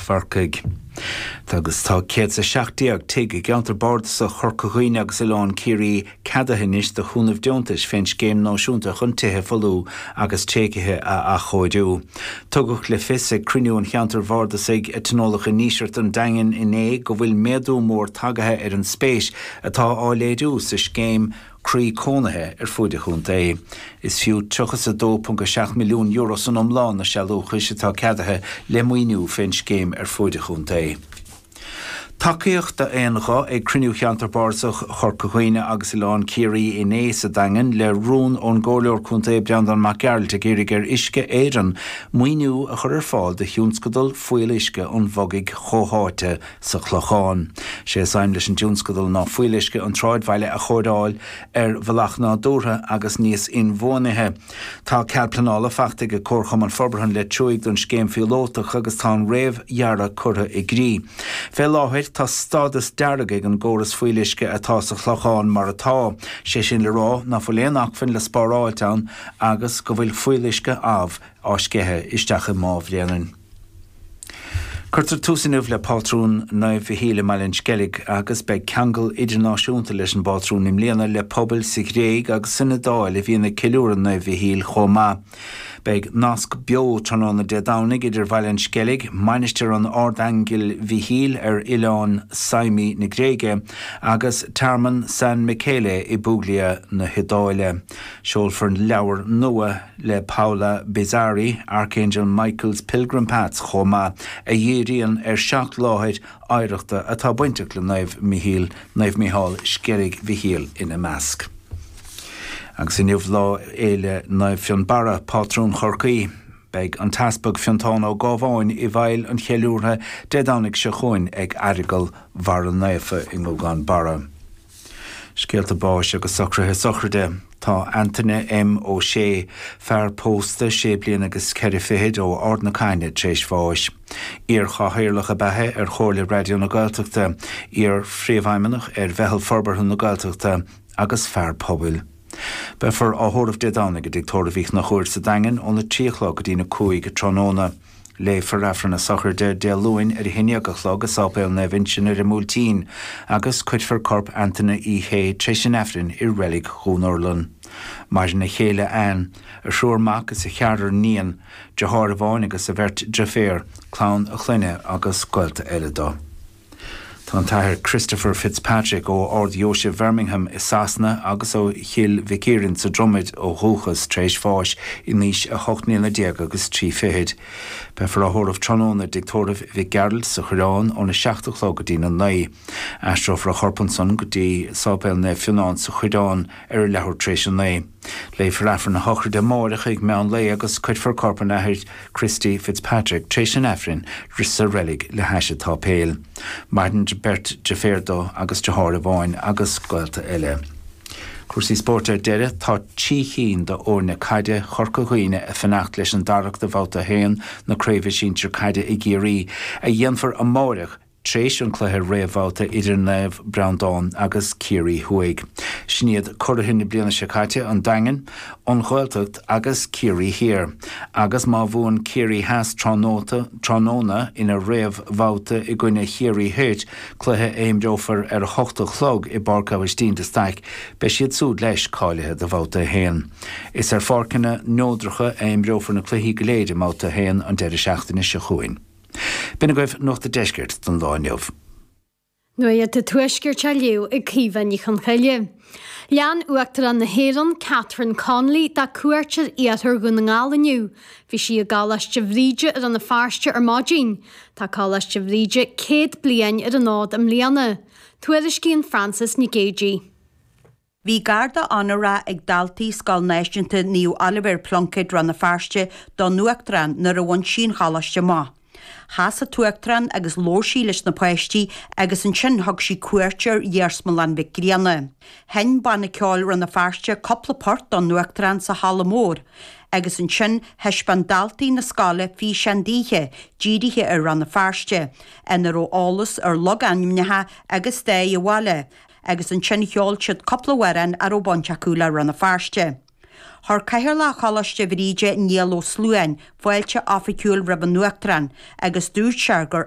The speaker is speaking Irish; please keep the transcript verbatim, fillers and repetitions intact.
Chorcaigh. Agus tá céad a seacht déag tigh i gceantar bardasach Chorca Dhuibhne agus Oileán Ciarraí ceadaithe anois do chúnamh deontais fén scéim náisiúnta chun tithe folmha agus tréigthe a athchóiriú. Tugadh le fios ag cruinniú an cheantair bhardasaigh a tionóladh i nDíseart an Daingin inné go bhfuil méadú mór tagaithe ar an spéis atá á léiriú sa scéim croí cónaithe ar fuaid an chontae. Is fiú tríocha a dó ponc a seacht milliún euro san iomlán na sealúchais atá ceadaithe le maoiniú fén scéim ar fuaid an chontae. Tacaíocht d'aon ghuth ag cruinniú cheantar bardasach Chorca Dhuibhne agus Oileán Ciarraí inné sa Daingean le rún ón gComhairleoir Contae Breandán Mac Gearailt ag iarraidh ar Uisce Éireann maoiniú a chur ar fáil do thionscadal fuíolluisce an Bhogaigh chomhtháite sa Chlochán. Sé is aidhm leis an dtionscadal ná fuíolluisce an tsráidbhaile a chóireáil ar bhealach nádúrtha agus níos inbhuanaithe. Tá cead pleanála faighte ag Comharchumann Forbartha an Leitir Thuaidh don scéim phíolótach agus tá an réamhdhearadh curtha i gcrích. Fé láthair tá stádas dearg ag an gcóras fuíolluisce atá sa Chlochán mar atá, sé sin le rá ná fuil aon acmhainn le spáráilt ann agus go bhfuil fuíolluisce amh á sceitheadh isteach i Má Bhréanainn. Cuirtear tús inniu le pátrún Naomh Mhichíl i mBaile an Sceilg agus beidh ceangal idirnáisiúnta leis an bpátrún i mbliana le pobail sa Ghréig agus san Iodáil a bhíonn ag ceiliúradh Naomh Mhichíl chomh maith. Beidh nasc beo tráthnóna Dé Domhnaigh idir Bhaile an Sceilg, Mainistir an Ardaingil Mhichíl ar oileán Symi na Gréige agus Tearmann San Michele i bPuglia na hIodáile. Seolfar leabhar nua le Paola Bizzarri, Archangel Michael's Pilgrim Paths chomh maith a dhíríonn ar seacht láthair oidhreachta atá bainteach le Naomh Michíl, Naomh Micheál Sceilg Mhichíl ina measc. Agus inniu lá fhéile Naomh Fionnbarra, pátrún Chorcaí. Beidh an tEaspag Fiontán Ó Gábháin i bhfeighil an cheiliúrtha Dé Domhnaigh seo chugainn ag Aireagal Bharra Naofa i nGúgán Barra. Scéalta báis agus socruithe sochraide. Tá Antaine M. Ó Sé, fear pósta sé bliana agus ceithre fichid ó Ard na Caithne tar éis bháis. Iar-chathaoirleach ab ea é ar Chomhairle Raidió na Gaeltachta, iar-phríomhfheidhmeannach ar Mheitheal Forbartha na Gaeltachta agus fear pobail. Beifear á thórramh Dé Domhnaigh i dTigh Tórraimh Uí Chonchúir sa Daingean óna trí a chlog go dtí na cúig tráthnóna. Léifear Aifreann na sochraide Dé Luain ar a haon déag a chlog i Sáipéal Naomh Uinseann ar an mBuailtín agus cuirfear corp Antaine Uí Shé tar éis an Aifrinn i Reilig Dhún Urlann. Maireann a chéile Anne, a thriúr mac is a cheathrar níon, deartháir amháin agus a bheirt deirféar, clann a chlainne agus gaolta eile dó. Tá an tAthair Christopher Fitzpatrick ó Ard-Dheoise Bhirmingham i Sasana agus ó Chill Mhic Ciaráin sa Dromaid ó dhúchas tar éis bháis in aois a hocht mbliana déag agus trí fichid. Beifear á thórramh tráthnóna i dTigh Tórraimh Mhic Gearailt sa Choireán óna seacht a chlog go dtí na naoi. Aistreofar a chorp ansan go dtí Sáipéal Naomh Fionnán sa Choireán ar a leathuair tar éis a naoi. Léifear Aifreann na sochraide amárach ag meán lae agus cuirfear corp an Athar Christy Fitzpatrick tar éis an Aifrinn sa reilig le hais an tsáipéil. Maireann beirt deirféar dó agus deartháir amháin agus gaolta eile. Cúrsaí spóirt ar deireadh tá trí cinn d'fhoirne caide Chorca Dhuibhne ag fanacht leis an dtarrac do bhabhta a haon na craoibhe sinsir caide i gCiarraí a dhéanfar amárach tar éis an cluiche réamhbhabhta idir Naomh Breandán agus Ciarraí Thuaidh. Sin iad curaithe na bliana seo caite an Daingean, an Ghaeltacht agus Ciarraí Thiar. Agus má bhuann Ciarraí Theas tráthnóna ina réamhbhabhta i gcoinne Chiarraí Thoir, cluiche a imreofar ar a hocht a chlog i bPáirc Aibhistín de Staic, beidh siad súd leis cáilithe do bhabhta a haon. Is ar pháirceanna neodracha a imreofar na cluichí go léir i mbabhta a haon an deireadh seachtaine seo chugainn. B'in agaibh Nuacht an Deiscirt don lá inniu. Nuacht an Tuaiscirt á léamh ag Caoimhe Ní Chonchoille. Lean Uachtarán na hÉireann, Catherine Connolly, dá cuairt ar iarthar Dhún na nGall inniu. Bhí sí i gColáiste Bhríde i Rann na Feirste ar maidin. Tá Coláiste Bhríde céad bliain ar an fhód i mbliana. Tuairiscíonn Frances Nic Géadaigh. Bhí garda onóra ag daltaí Scoil Náisiúnta Naomh Oilibhéar Pluincéid Rann na Feirste don Uachtarán nuair a bhain sí an choláiste amach. Chas an tUachtarán agus labhair sí leis na páistí agus ansin thug sí cuairt ar Iarsmalann Mhic Grianna. Sheinn Banna Ceoil Rann na Feirste cúpla port don Uachtarán sa halla mór agus ansin thaispeáin daltaí na scoile físeán daoithe dírithe ar Rann na Feirste, ina raibh eolas ar logainmneacha agus stair an bhaile, agus ansin cheol siad cúpla amhrán a raibh baint acu le Rann na Feirste. Chuir Cathaoirleach Choláiste Bhríde Niall Ó Sluáin fáilte oifigiúil roimh an Uachtarán agus dúirt sé gur